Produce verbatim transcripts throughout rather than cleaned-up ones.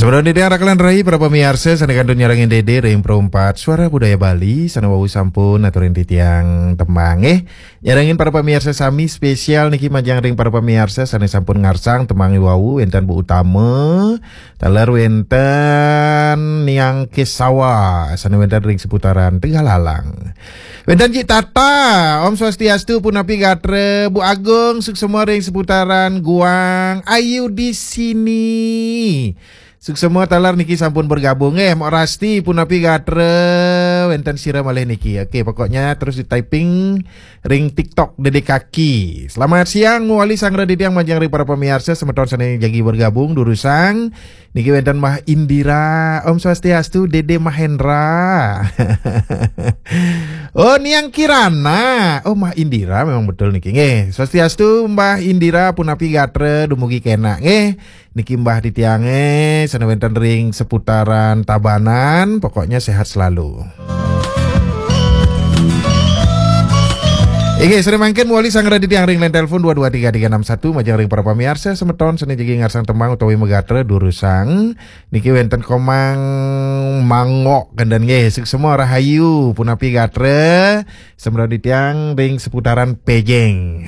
Sampun titiang rakelan rai para pamiarsa sane kantun nyarengin Dede ring Perumpat Suara Budaya Bali, sane wau sampun aturin titiang tembang, eh. Nyarengin para pamiarsa sami spesial niki majeng ring para pamiarsa sane sampun ngarsang tembang wau, wenten Bu Utama, taler wenten Niang Kesawa, sane wenten ring seputaran Tegalalang. Wenten Cik Tata, Om Swastiastu, punapi gatra, Bu Agung, suksema ring seputaran Guang, Ayu di sini. Suksema taler niki sampun bergabung, eh, Mok Rasti, punapi gatra, wenten sira malih niki. Oke, pokoknya terus di-typing ring TikTok Dede Kaki. Selamat siang, mawali sanggra titiang majeng ring para pamiarsa semeton sane jagi bergabung, durusang. Niki wenten Mah Indira, Om Swastiastu, Dede Mahendra. Oh, Niang Kirana. Oh, Mah Indira memang betul niki. Nggih, Swastiastu, Mbah Indira, punapi gatra, dumugi kenak. Nggih, niki Mbah titiange, sane wenten ring seputaran Tabanan, pokoknya sehat selalu. Inggih, sane mangkin mawali sanggra titiang ring line telepon dua dua tiga tiga enam satu, majeng ring para pamiarsa semeton sane jagi ngarsang tembang utawi magatra durusang. Niki wenten Komang Mangok kenten nggih, suksema rahayu, punapi gatra, semeton titiang ring seputaran Pejeng.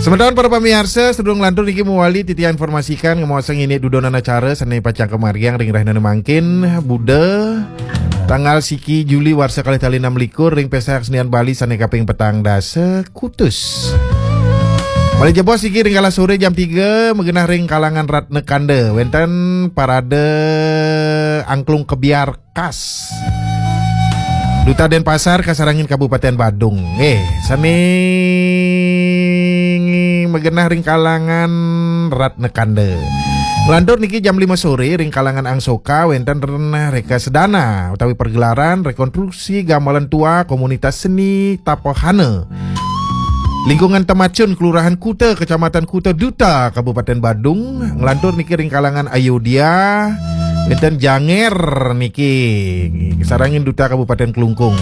Semeton para pamiarsa, sedurung lantur niki mawali titiang informasikan ngemaosang indik dudonan acara sane pacang kamargiang ring rahinane mangkin, Buda, tanggal siki Juli warsa kalih tali enam likur ring Pesta Kesenian Bali sane kaping petang dasa kutus. Malih jebos niki ring galah sore jam tiga, magenah ring kalangan Ratna Kanda, wenten parade angklung kebyar khas Duta Denpasar kasarengin Kabupaten Badung. Eh, sane magenah ring kalangan Ratna Kanda. Nglantur niki jam lima sore ring kalangan Angsoka wenten Renah Reka Sedana utawi pergelaran rekonstruksi gamelan tua komunitas seni Tapahana. Lingkungan Temacun, Kelurahan Kuta, Kecamatan Kuta Duta, Kabupaten Badung, nglantur niki ring kalangan Ayodya, wenten Janger niki, sarengin Duta Kabupaten Klungkung.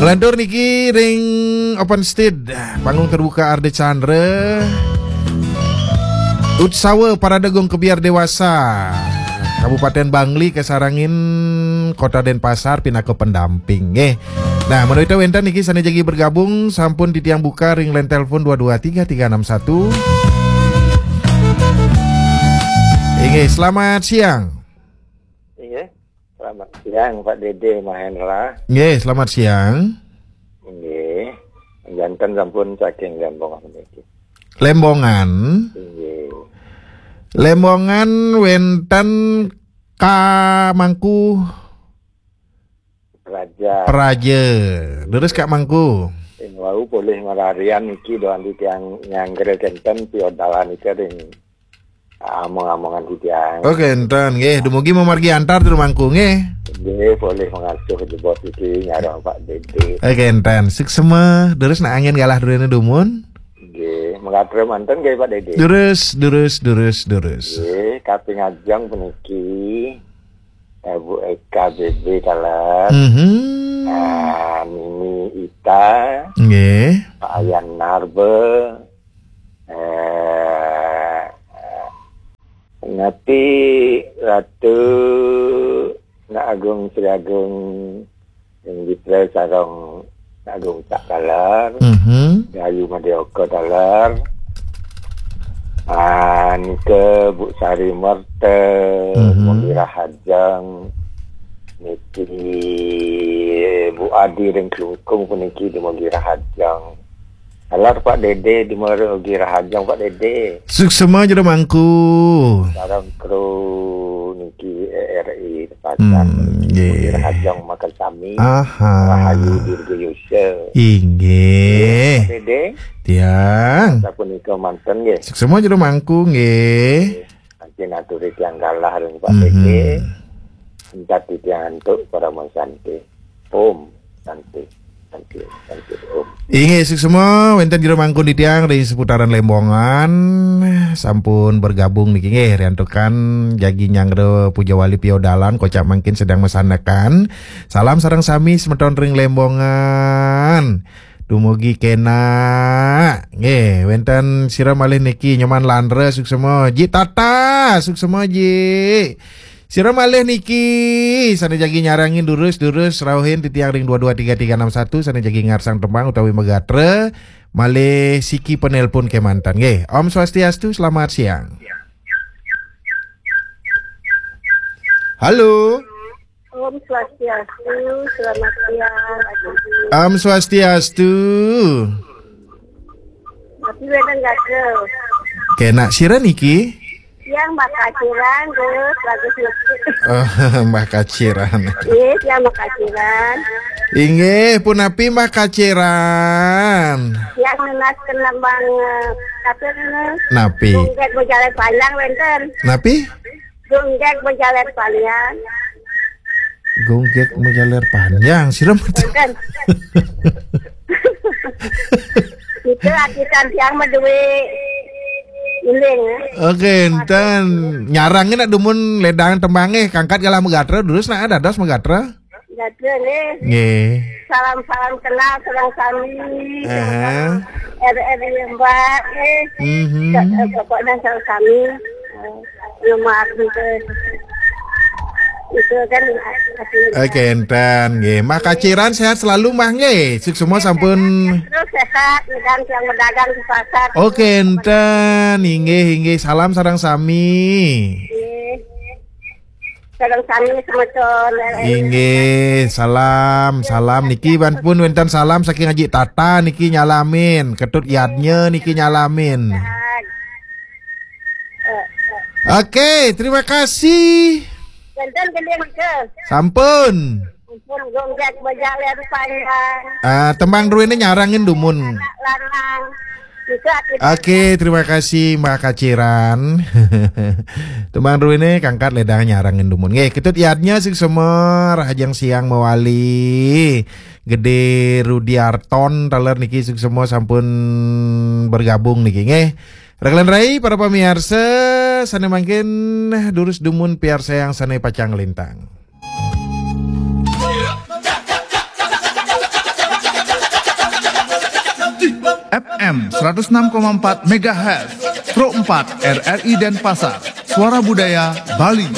Nglantur niki ring open stage, panggung terbuka Ardha Candra, Utsawa Parade Gong Kebyar Dewasa, Kabupaten Bangli kasarengin Kota Denpasar pinaka pendamping, nggih. Nah, menawi wenten niki sane jagi bergabung, sampun titiang buka ring line telepon dua dua tiga tiga enam satu. Inggih, selamat siang. Inggih, selamat siang, Pak Dede Mahendra. Nggih, selamat siang. Inggih, janten sampun saking Lembongan niki. Lembongan. Inggih. Lembongan wenten Ka Mangku Praja. Praja. Leres, Kak Mangku. Sing wau polih ngrarian niki doan titiang nyanggra kenten piodalan nika ring among-amongan titiang. Oh, kenten nggih. Dumugi mamargi antar Tru Mangku nggih. Nggih, polih mangasuh jebos niki nyareng Pak Dede. Eh, kenten. Suksema. Leres nak angin galah durene dumun. Nggih, mangatra manten nggih Pak Dede. Leres, leres, leres, leres. Nggih, kaping ajeng puniki, eh, Bu Eka B B taler. Mhm. Ah, Nini Ita. Nggih. Pak Ayan Narbe. Eh, Nati Ratu Nak Agung Sri Agung Inggitra sareng Nak Agung Cak taler. Mhm. Dayu Madya Oka taler. Ah, nika Bu Sari Merta, mhm, Mugi Rahajeng. Niki Bu Adi ring Klungkung puniki dumugi rahajeng. Taler Pak Dede, dumugi rahajeng Pak Dede. Suksema Jero Mangku. Sareng kru niki R R I Pasar. Hmm, nggih. Rahajeng makasami. Aha. Rahayu Dirgayusa. Inggih. Pak Dede. Tiang. Sapunika manten nggih. Suksema Jero Mangku nggih. Nggih. Mangkin aturi tiang galah ring Pak, mhm, Dede. Entat titiang antuk parama santi. Om Santi. Inggih, suksma wénten jero mangkun titiang ring seputaran Lembongan sampun bergabung niki nggih, riantukan jagi nyanggra Pujawali Piodalan kocap mangkin sedang masandekan. Salam sareng sami semeton ring Lembongan. Dumugi kénak. Nggih, wénten sira malih niki Nyoman Landra suksma, Ji Tata suksma Ji. Sira malih niki sané jagi nyarengin durus-durus rauhin titiang ring dua dua tiga tiga enam satu sané jagi ngarsang tembang utawi magatra malih siki penelpon kémanten nggih. Om Swastiastu, selamat siang. Halo. Om Swastiastu, selamat siang, Pak Jody. Om Swastiastu. Tapi wénten gatra. Kénak sira niki? Yang Mbah Kaciran, Gus, Bagus Masjid. Oh, Mbah Kaciran. Iya, yang Mbah Kaciran. Inggih, punapi Mbah Kaciran? Yang nunas kenembang, eh, tapi ini. Napi? Gunggek berjalan panjang, wénten. Napi? Gunggek berjalan panjang. Gunggek berjalan panjang, sira mboten. Wénten. Itu akitan tiang madué iling. Oke, enten nyarengin nak dumun ledang tembangé, kangkat galah magatra, durus nak dados magatra. Gatra nggih. Nggih. Salam-salam kenal sareng sami. Aha. R R I Mbak nggih. Mhm. Pokoknya sareng sami. Eh, Nomor itu kan. Oke, enten nggih. Mbah Kaciran sehat selalu, Mbah, nggih. Suksma sampun. Terus sehat, dan yang berdagang di pasar. Oke, enten. Inggih, inggih. Salam sareng sami. Nggih. Sareng sami semeton. Inggih, salam, salam niki pun wénten salam saking Aji Tata niki nyalamin, Ketut Yadnya niki nyalamin. Oke, terima kasih. Wénten gending ke. Sampun. Sampun gonggak berjalan panjang. Ah, tembang druéné nyarengin dumun. Anak lanang. Itu akibat. Oke, terima kasih Mbah Kaciran. Tembang druéné kangkat ledang nyarengin dumun. Nggih, Ketut Yadnya suksma, rahajeng siang mawali. Gedé Rudiarton taler niki suksma sampun bergabung niki nggih. Rekan rai, para pamiarsa, sané mangkin durus dumun piarsayang sané pacang lintang. F M seratus enam koma empat megahertz, Pro empat R R I Denpasar, Suara Budaya Bali.